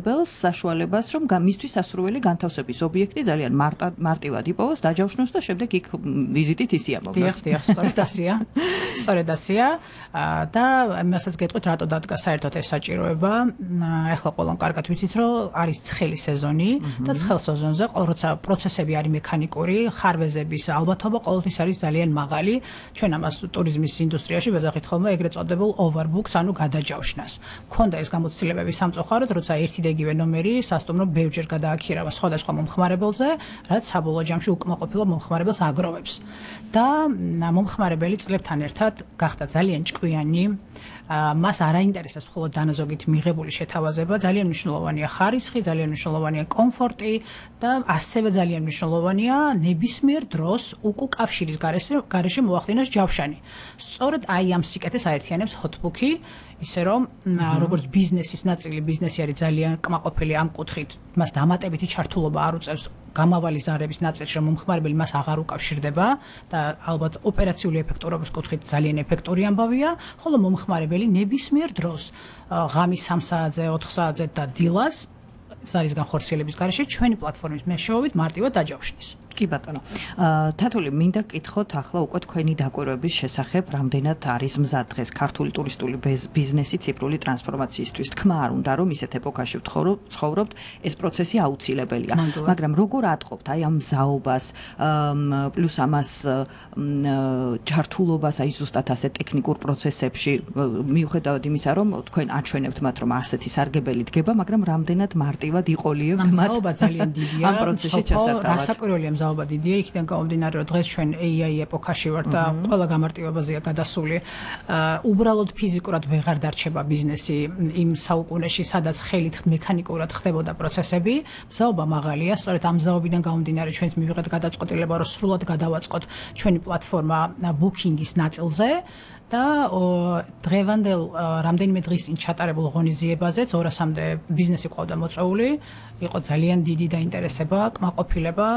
მომხმარებელს საშუალებას, რომ მისთვის სასურველი განთავსების ობიექტი ძალიან მარტივად იპოვოს, დაჯავშნოს და შემდეგ იქ ვიზიტით ისიამოვნოს. დიახ, სწორედ ასეა. სწორედ ასეა და იმასაც გეტყვით, რატო დადგა საერთოდ ეს საჭიროება. ახლა ყველამ კარგად ვიცით, რომ არის ცხელი სეზონი და ცხელ სეზონზე როცა პროცესები არის მექანიკური, ხარვეზების ალბათობა ყოველთვის არის ძალიან მაღალი. ჩვენ ამას ტურიზმის ინდუსტრიაში ვეძახით ხოლმე ეგრეთ წოდებულ overbooks, ანუ გადაჯავშნას. მქონდა ეს გამოცდილებები სამწუხაროდ, როცა ერთი და იგივე ნომერი სასტუმრო ბევრჯერ გადააქირავა სხვადასხვა მომხმარებელზე, რაც საბოლოო ჯამში უკმაყოფილო მომხმარებელს აგროვებს. და მომხმარებელი წლებთან ერთად გახდა ძალიან ჭკვიანი, მას არ აინტერესებს მხოლოდ დანაზოგით მიღებული შეთავაზება, ძალიან მნიშვნელოვანია ხარისხი, ძალიან მნიშვნელოვანია კომფორტი და ასევე ძალიან მნიშვნელოვანია ნებისმიერ დროს უკუკავშირის გარეშე მოახდინოს ჯავშანი. სწორედ აი ამ სიკეთეს აერთიანებს hotbook-ი, ისე რომ როგორც ბიზნესის ნაწილი, ბიზნესი არის ძალიან კმაყოფილი ამ კუთხით, მას დამატებითი ჩართულობა არ უწევს გამავალი ზარების ნაწილში, რომ მომხმარებელი მას აღარ უკავშირდება და ალბათ ოპერაციული ეფექტურობის კუთხით ძალიან ეფექტური ამბავია, ხოლო მომხმარებელი ნებისმიერ დროს ღამის 3 საათზე, 4 საათზე და დილას ზარის განხორციელების გარეშე ჩვენი პლატფორმის მეშვეობით მარტივად დაჯავშნის. კი ბატონო. თათული, მინდა გკითხოთ ახლა უკვე თქვენი დაკვირვების შესახებ, რამდენად არის მზად დღეს ქართული ტურისტული ბიზნესი ციფრული ტრანსფორმაციისთვის. თქმა არ უნდა, რომ ისეთ ეპოქაში ვცხოვრობთ, ეს პროცესი აუცილებელია. მაგრამ როგორ ატყობთ აი ამ მზაობას, პლუს ამას ჯართულობას, აი ზუსტად ასე ტექნიკურ პროცესებში, მიუხედავად იმისა, რომ თქვენ აჩვენებთ მათ, რომ ასეთი სარგებელი დგება, მაგრამ რამდენად მარტივად იყოლიებთ მათ. მზაობა ძალიან დიდია. ამ პროცესში ჩასატარებლად. რასაკვირველია მზაობა დიდია, იქიდან გამომდინარე, რომ დღეს ჩვენ AI ეპოქაში ვართ და ყველა გამარტივებაზეა გადასული. უბრალოდ ფიზიკურად ვეღარ დარჩება ბიზნესი იმ საუკუნეში, სადაც ხელით მექანიკურად ხდებოდა პროცესები. მზაობა მაღალია, სწორედ ამ მზაობიდან გამომდინარე ჩვენც მივიღეთ გადაწყვეტილება, რომ სრულად გადავაწყოთ ჩვენი პლატფორმა ბუკინგის ნაწილზე. და დღევანდელ რამდენიმე დღის წინ ჩატარებულ ღონისძიებაზეც 200-მდე ბიზნესი ყავდა მოწვეული, იყო ძალიან დიდი დაინტერესება, კმაყოფილება,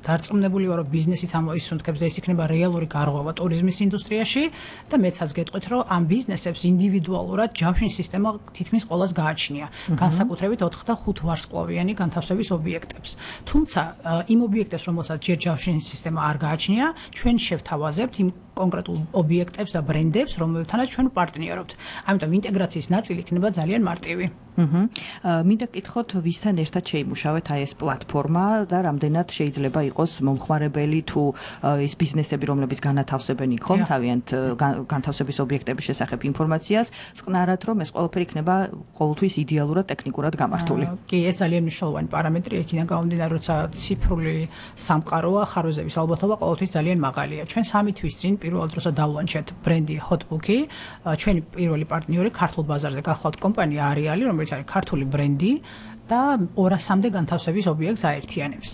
დარწმუნებული ვარ, რომ ბიზნესიც ამოისუნთქებს და ეს იქნება რეალური გარღვევა ტურიზმის ინდუსტრიაში და მეცაც გეტყვით, რომ ამ ბიზნესებს ინდივიდუალურად ჯავშნის სისტემა თითქმის ყველას გააჩნია, განსაკუთრებით 4 და 5 ვარსკვლავიანი განთავსების ობიექტებს. თუმცა იმ ობიექტებს, რომელსაც ჯერ ჯავშნის სისტემა არ გააჩნია, ჩვენ შევთავაზებთ იმ კონკრეტულ ობიექტებს და ბრენდებს, რომელთანაც ჩვენ ვპარტნიორობთ. ამიტომ ინტეგრაციის ნაწილი იქნება ძალიან მარტივი. მინდა გკითხოთ, ვისთან ერთად შეიმუშავეთ აი ეს პლატფორმა და რამდენად შეიძლება იყოს მომხმარებელი თუ ის ბიზნესები, რომლებიც განათავსებენ იქ ხომ თავიანთ განთავსების ობიექტების შესახებ ინფორმაციას, წყნარად რომ ეს ყველაფერი იქნება ყოველთვის იდეალურად ტექნიკურად გამართული. კი, ეს ძალიან მნიშვნელოვანი პარამეტრი, იქიდან გამომდინარე, როცა ციფრული სამყაროა, ხარვეზების ალბათობა ყოველთვის ძალიან მაღალია. ჩვენ 3 თვის წინ პირველად როცა დავლანჩეთ ბრენდი hotbook-ი, ჩვენი პირველი პარტნიორი ქართულ ბაზარზე გახლავთ კომპანია Ariali, რომელიც არის ქართული ბრენდი და 200-მდე განთავსების ობიექტს აერთიანებს.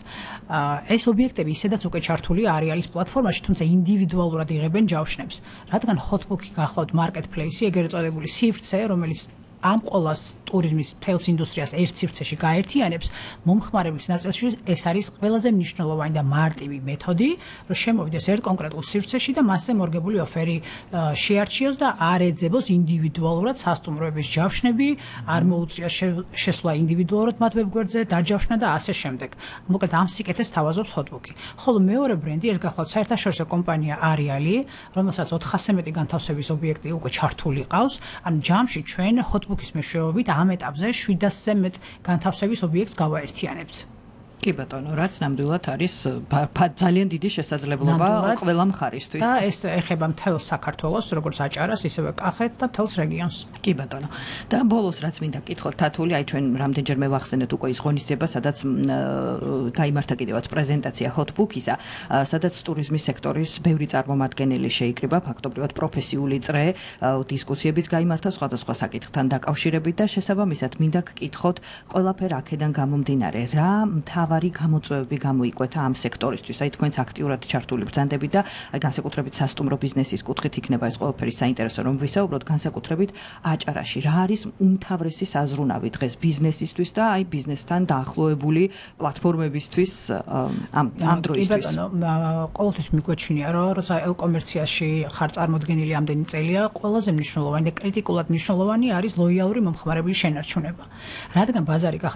ეს ობიექტები ისედაც უკვე ჩართულია Arialis პლატფორმაში, თუმცა ინდივიდუალურად იღებენ ჯავშნებს. რადგან hotbook-ი გახლავთ marketplace-ი, ეგრეთ წოდებული სივრცე, რომელიც ამ ყოველას ტურიზმის თელს ინდუსტრიას ერთ სივრცეში გაერთიანებს, მომხმარებლის ნაწილში ეს არის ყველაზე მნიშვნელოვანი და მარტივი მეთოდი, რომ შემოვიდეს ერთ კონკრეტულ სივრცეში და მასზე მორგებული ოფერი შეარჩიოს და არ ეძებოს ინდივიდუალურად სასტუმროების ჯავშნები, არ მოუწიოს შესვლა ინდივიდუალურად მათ ვებგვერდზე, დაჯავშნა და ასე შემდეგ. მოკლედ ამ სიკეთეს თავაზობს hotbook-ი. ხოლო მეორე ბრენდი, ეს გახლავთ საერთაშორისო კომპანია Ariali, რომელსაც 400-ზე მეტი განთავსების ობიექტი უკვე ჩართული ყავს, ანუ ჯამში ჩვენ hotbook-ის მეშვეობით ამ ეტაპზე 700-ზე მეტ განთავსების ობიექტს გავაერთიანებთ. კი ბატონო, რაც ნამდვილად არის ძალიან დიდი შესაძლებლობა ყველა მხარისთვის. და ეს ეხება მთელ საქართველოს, როგორც აჭარას, ისევე კახეთს და მთელს რეგიონს. კი ბატონო. და ბოლოს რაც მინდა გკითხოთ, თათული, აი ჩვენ რამდენჯერმე ვახსენეთ უკვე ის ღონისძიება, სადაც გაიმართა კიდევაც პრეზენტაცია hotbook-ისა, სადაც ტურიზმის სექტორის ბევრი წარმომადგენელი შეიკრიბა, ფაქტობრივად პროფესიული წრე, დისკუსიებიც გაიმართა სხვადასხვა საკითხთან დაკავშირებით და შესაბამისად მინდა გკითხოთ, ყველაფერ აქედან გამომდინარე, რა მთავარი გამოწვევები გამოიკვეთა ამ სექტორისთვის. აი თქვენც აქტიურად ჩართული ბრძანდებით და აი განსაკუთრებით სასტუმრო ბიზნესის კუთხით იქნება ეს ყველაფერი საინტერესო რომ ვისაუბროთ განსაკუთრებით აჭარაში. რა არის უმთავრესი საზრუნავი დღეს ბიზნესისთვის და აი ბიზნესთან დაახლოებული პლატფორმებისთვის ამ დროისთვის? ყოველთვის მიგვაჩნია რომ როცა ელ-კომერციაში ხარ წარმოდგენილი ამდენი წელია, ყველაზე მნიშვნელოვანი და კრიტიკულად მნიშვნელოვანი არის ლოიალური მომხმარებლის შენარჩუნება. რადგან ბაზარი